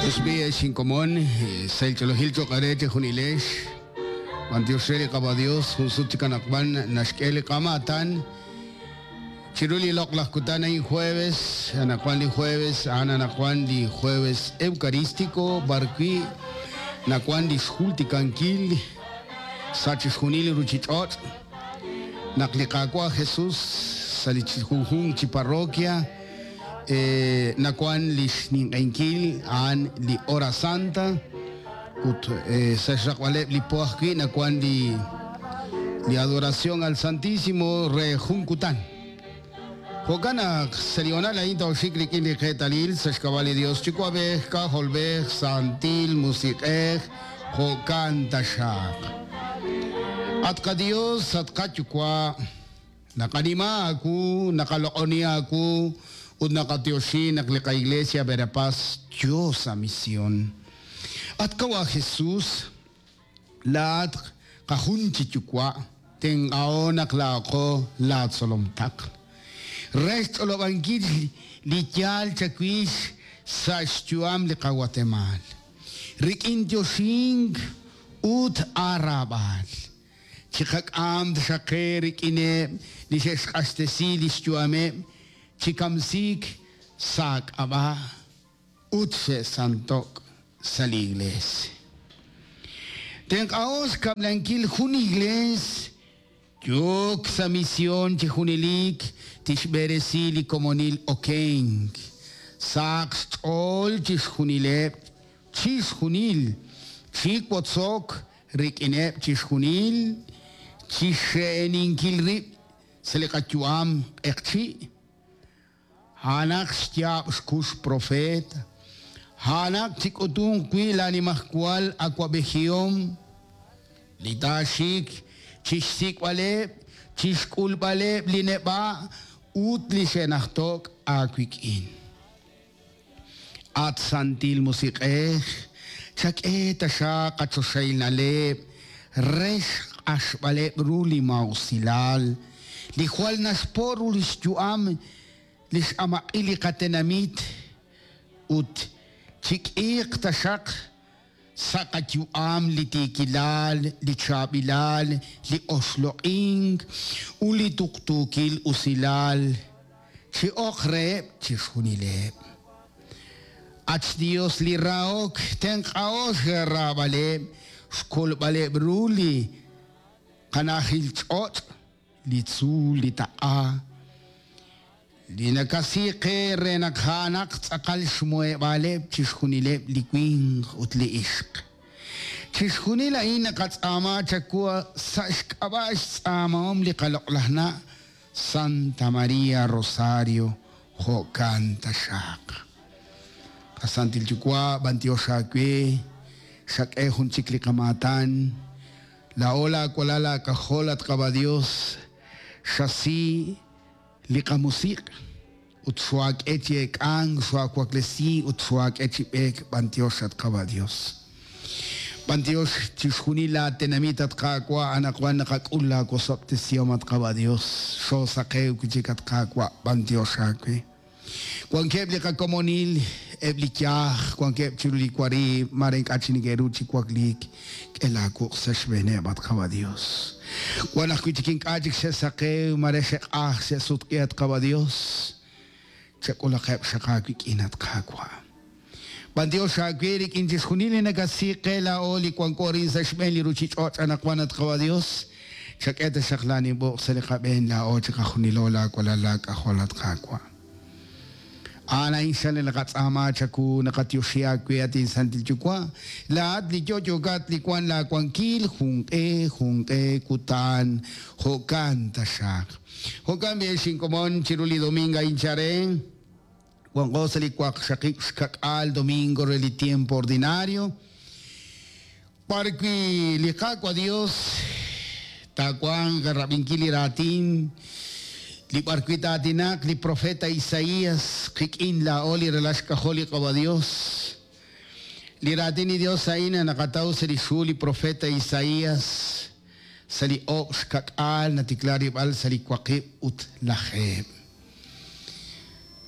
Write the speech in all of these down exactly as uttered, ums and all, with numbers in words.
Usbi xinkomon selcholohil choqare chejunilex Bantioxeri qaba Dios junsut chikanakban naxk'eli qamatan Chiruli loq laj kutan ayin jueves anakuan li jueves ana anakuan li jueves eucarístico barqui nakuan li xjultikankil sachixjunil ruchich'och' naqliqakwa Jesús salichijunjun chi parroquia eh, nakuan li xninq'enkil an li hora santa ut eh, saxraq'aleb li poajki nakuan li li adoración al Santísimo re junkutan Jo'kan selional ayin tawxik rikin li qetalil saxkabali Dios chikuabej kajolbej santil musiq'ej jo'kan taxaq Atqa Dios atqa chukwa naqanima aku naqaloq'oni aku ut naqatioxi naqliqa iglesia Verapaz Dios a misión Atkawa Jesús laat qajun chichukwa tenqao naqlaaqo laatsolomtaq Rest olobankil li yal chakwix sa xyuam li qawatemal Rikin tioxink ut arabal Chiqak'am xaqe rikineb li xexq'axtesi li xyuameb chikamsik sak'ab'a ut xe'santok sa li iglesia Tenq'aos kab'lankil jun iglesia Yok sa misión chijunilik tixb'eresi li komonil okenk saq xch'ool chixjunileb' chixjunil chikwotzok rik'ineb' chixjunil chixxe'eninkil rib' sa li qayu'am q'eqchi' hanaq xyaab' xkux profeta hanaq chik'utun wi lanimajwal awab'ejihom li taaxik chixsik'b'aleb' chixk'ulb'aleb' li neb'a' ut li xe'najtok aawik'in At santil musiq'ej chak'e taxaq qachoxaynaleb' rex q'axb'aleb' ru li mawsilal li jwal naxpo' ru li xyu'am li x'amaq'il li qatenamit ut chik'iiq taxaq sa qayu'am li tiikilal li chaab'ilal li oxloq'ink ut li tuqtuukil usilal chi'oq reheb' chixjunileb' Ach Dios li raok tenq'aox raab'aleb' xkolb'aleb' ru li qanajil ch'och' li tzuul li taq'a li nakasiqe re naq ja'anaq tz'aqal xmuheb'aaleb' chixjunileb' li winq ut li ixq Chixjunil a'in naqatz'aama chakua sa' xk'ab'a' xtz'aamahom li qaloq'lajna' Santa María Rosario jo'kan taxaq Qasantil Yuwa' b'antiox aawe xak'e jun chik li qamaatan la ola awalal aak'ajol at qaba Dios xasi li qamusiq' ut xwaak'e chi ek'ank xwaawaklesi ut xwaak'e chi b'eek b'antiox at qaba Dios B'antiox chixjunil laatenamit at qaawa' anaqwan naqak'ul laawosob'tesihom at qaba Dios xoosaqew wi' chik at qaawa' b'antiox aawe Wankeb' li qakomonil eb' li yaaj wankeb' chiru li wari mare ink'a' chi neke'ru chi wakliik k'e laawuq' sa' xb'eeneb' at qaba Dios Wan ajwi' chik ink'a' chik xe'saqew mare xe'q'aj xe'sutq'i at qaba Dios chak'ulaqeb' xaq aawik'in at qaawa' B'antiox aawe rik'in chixjunil li nakasiqe laa'o li wanko rin sa' xb'een li ruchich'och' anaqwan at qaba Dios chak'e taxaq laanib'uq' sa' li qab'een laa'o chiqajunilo laawalal laak'ajol at qaawa' Ana insale naqatz'aama chaku naqatioxi aawe atin santil yuwa' laat li yo'yokat li wan laawankil junq'e junq'e kutan jo'kan taxaq Jo'kan b'e xinkomon chiru li domingo ayin chare wanqo sa li waqxaqib' xkak'al domingo re li tiempo ordinario parwi li qaawa Dios taawanq rab'inkil li raatin li b'arwi taatinaq li profeta Isaías qik'in laa'o li ralax k'ajol li qaba Dios li raatin li Dios a'in naqataw sa' li xhu li profeta Isaías sa' li oob' xkak'al natikla rib'al sa' li waqib' ut lajeeb'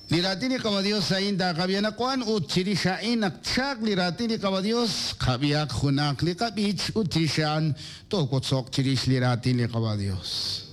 Li raatin li Qawa' Dios a'in taqab'i anaqwan ut chirix a'in naq tchaq li raatin li Qawa' Dios, qab'ihaq junaq li qab'ich ut chirix a'an toowotzoq chirix li raatin li Qawa' Dios.